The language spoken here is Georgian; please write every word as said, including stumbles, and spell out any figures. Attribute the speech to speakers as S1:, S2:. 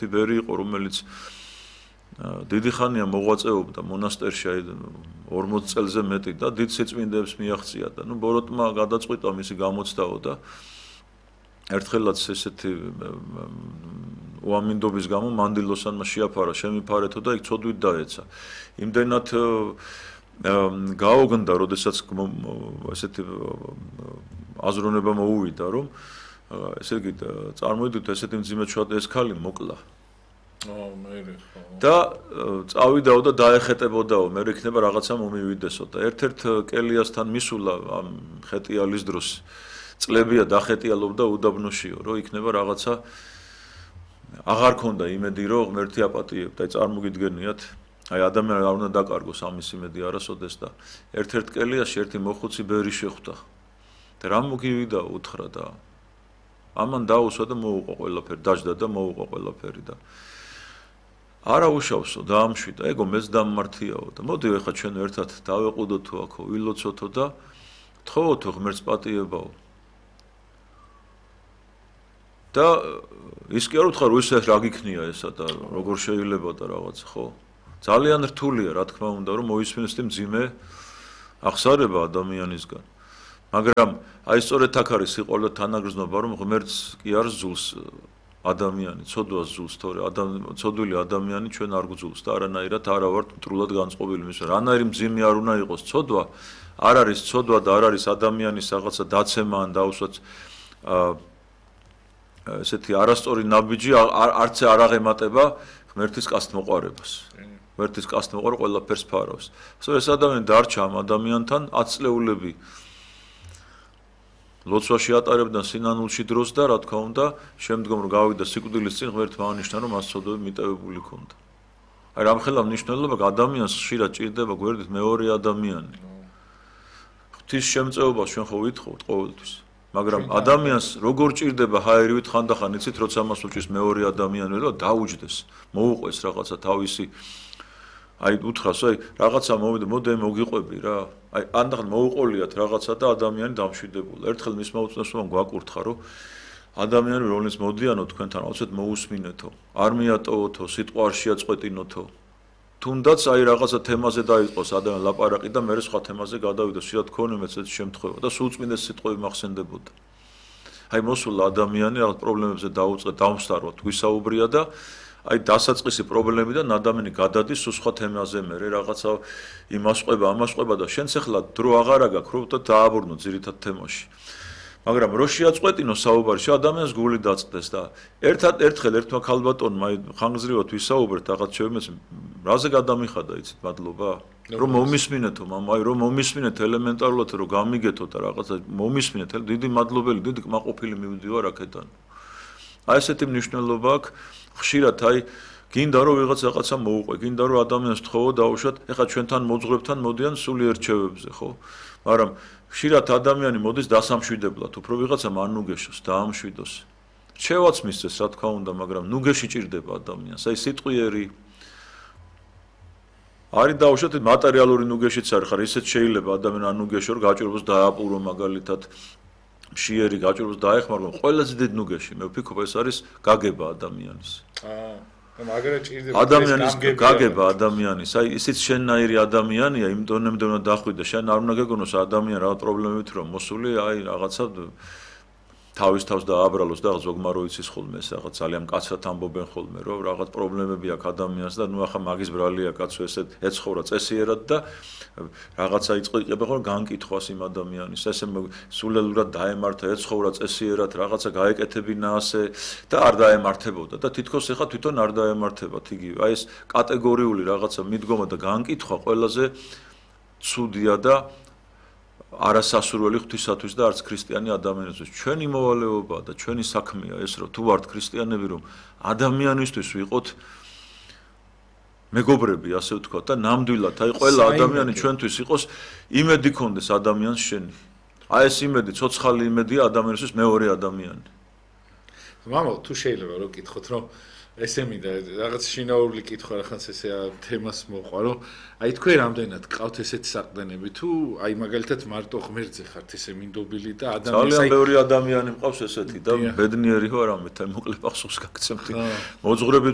S1: ბერი იყო, რომელიც დიდი ხანია მოღვაწეობდა მონასტერში ორმოც წელზე მეტი და დიდ სიწმინდეებს მიაღწია და ნუ ბოროტმა გადაწყვიტა მისი გამოცდაო და ერთხელაც ესეთი უამინდობის გამო მანდილოსანმა შეაფარა შემიფარეთო და იქ ცოდვით დაეცა. იმდენად გაოგნდა, როდესაც ესეთი აზროვნება მოუვიდა, რომ ესე იგი წარმოიდგინეთ ესეთი მძიმე ჩვად ეს ქალი მოკლა. და წავიდაო და დაეხეტებოდაო, მე იქნება რაღაცა მომივიდესო და ერთ-ერთ კელიასთან მისულა ამ ხეტიალის დროს წლებია დახეტიალობდა უდაბნოშიო, რომ იქნება რაღაცა აღარ ქონდა იმედი, რომ ღმერთი აპატიებდა, აი წარმოგიდგენიათ, აი ადამიანი არ უნდა დაკარგოს ამის იმედი არასოდეს და ერთ-ერთ კელიასში ერთი მოხუცი ბერი შეხვდა და რა მოგივიდა უთხრა და ამან დაუსვა და მოუყო ყველაფერი, დაждდა და მოუყო ყველაფერი და არა უშავსო დაამშვიდა, ეგო მეც დამმართიაო და მოდი ეხლა ჩვენ ერთად დავეყუდოთო აქო, ვილოცოთო და თხოვოთო ღმერთს პატიებაო. და ის კი არ უთხრა რომ ისე რა გიქნია ესა და როგორ შეიძლება და რაღაც, ხო? ძალიან რთულია, რა თქმა უნდა, რომ მოისმინოს იმ ძიმე აღსარება ადამიანისგან. მაგრამ აი სწორედ აქ არის სიყვარული და თანაგრძნობა, რომ ღმერთს კი არ ზულს ადამიანი, ცოდვას ზულს, თორე ცოდვილი ადამიანი ჩვენ არ გვძულს და არანაირად არა ვართ მტრულად განწყობილი მის. რანაირი მძიმე არ უნდა იყოს ცოდვა, არ არის ცოდვა და არ არის ადამიანის რაღაცა დაცემა ან დაუსვაც ესეთი არასწორი ნაბიჯი არც არ აღემატება ღმერთის კასტმოყარებას. ღმერთის კასტმოყარე ყველაფერს ფარავს. ასე ეს ადამიანი დარჩა ამ ადამიანთან ათი წლეულები ლოცვაში ატარებდა სინანულში დროს და რა თქმა უნდა, შემდგომ რომ გავიდა სიკვდილის წინ ღმერთმა ანიშნა, რომ მას ცოდვები მიტევებული ჰქონდა. აი რამხელა მნიშვნელობა ადამიანს ხშირად ჭირდება გვერდით მეორე ადამიანი. ღვთის შემწეობას ჩვენ ხო ვითხოვთ ყოველთვის. მაგრამ ადამიანს როგორ ჭირდება ჰაერივით ხანდახან იცით, როცა მას უჭირს მეორე ადამიანი და დაუჯდეს, მოუყვეს რაღაცა თავისი აი უთხრას, აი რაღაცა მოვიდა, მოდი მოგიყვები რა. აი ანდახან მოუყოლიათ რაღაცა და ადამიანი დამშვიდებულა. ერთხელ მის მოუწნესობამ გვაკურთხა, რომ ადამიანი რომელიც მოდიანო თქვენთან, აუცილებლად მოусმინეთო, არ მიატოვოთო, სიტყვა არ შეაწყვეტინოთო. თუნდაც აი რაღაცა თემაზე დაიწყოს ადამიანი ლაპარაკი და მერე სხვა თემაზე გადავიდოს, შეიძლება თქონე მეც ეს შემთხვევა და სულ წმინდეს სიტყვები მახსენდებოდა. აი მოსულა ადამიანი რაღაც პრობლემებზე დაუწყე, დამსწაროთ, გვისაუბრია და აი დასაწყისი პრობლემიდან ადამიანი გადადის სულ სხვა თემაზე მერე რაღაცა იმას ყვება, ამას ყვება და შენც ახლა დრო აღარა გაქვს, რომ და დააბრუნო ძირითად თემაში. მაგრამ რო შეაწყვეტინო საუბარში ადამიანს გული დაწდეს და ერთად ერთხელ ერთმა ქალბატონმა ხანგრძლივად ვისაუბრეთ რაღაც ჩემს რაზე გადამიხადა იცით მადლობა რომ მომისმინეთო მამა აი რომ მომისმინეთ ელემენტარულად რომ გამიგეთო და რაღაცა მომისმინეთ დიდი მადლობელი დიდი კმაყოფილი მივდივარ აქედან აი ესეთი მნიშვნელობა აქვს ხშირად აი გინდა რომ ვიღაც რაღაცა მოუყვე გინდა რომ ადამიანს თხოვო დაუშვათ ეხლა ჩვენთან მოძღვრებთან მოდიან სულიერ რჩევებზე ხო მაგრამ ხშირად ადამიანი მოდის დასამშვიდებლად, უფრო ვიღაცა არ ნუგეშოს, დაამშვიდოს. რჩევაც მისცეს, რა თქმა უნდა, მაგრამ ნუგეში ჭირდება ადამიანს. აი სიტყვიერი არის დაუშვათ მატერიალური ნუგეშიც არის, ხარ ისეთ შეიძლება ადამიანი არ ნუგეშო, რომ გაჭიროს დააპურო მაგალითად მშიერი გაჭიროს დაეხმარო, ყველაზე დიდი ნუგეში, მე ვფიქრობ ეს არის გაგება ადამიანის.
S2: აა მაგრამ ჭირდება
S1: ადამიანის გაგება ადამიანის აი ისიც შენნაირი ადამიანია იმ დონემდე უნდა დახვიდე შენ არ უნდა გეგონოს ადამიანი რაღაც პრობლემებით რომ მოსული აი რაღაცა თავის თავს დააბრალოს და ზოგმარო იცის ხოლმე ეს რაღაც ძალიან მკაცრად ამბობენ ხოლმე რომ რაღაც პრობლემები აქვს ადამიანს და ნუ ახლა მაგის ბრალია კაცო ესეთ ეცხოვრა წესიერად და რაღაცა იწყება ხოლმე განკითხვას იმ ადამიანის ესე სულელურად დაემართა ეცხოვრა წესიერად რაღაცა გაეკეთებინა ასე და არ დაემართებოდა და თითქოს ეხა თვითონ არ დაემართებათ იგივე აი ეს კატეგორიული რაღაცა მიდგომა და განკითხვა ყველაზე ცუდია და არასასურველი ღვთისათვის და არც ქრისტიანი ადამიანისთვის. ჩვენი მოვალეობაა და ჩვენი საქმეა ეს რომ თუ ვართ ქრისტიანები რომ ადამიანისთვის ვიყოთ მეგობრები ასე ვთქვათ და ნამდვილად აი ყველა ადამიანი ჩვენთვის იყოს იმედი ქონდეს ადამიანს შენი. აი ეს იმედი ცოცხალი იმედია ადამიანისთვის მეორე ადამიანი.
S2: მამა თუ შეიძლება რომ გითხოთ რომ ესე მინდა რაღაც შინაური კითხვა რახანს ესე თემას მოყვა რომ აი თქვენ რამდენად გყავთ ესეთი საყდენები თუ აი მაგალითად მარტო ღმერთზე ხართ ესე მინდობილი და ადამიანი
S1: ძალიან ბევრი ადამიანი მყავს ესეთი და ბედნიერი ვარ ამით აი მოკლე პახსოვს გაგცემთ მოძღვრები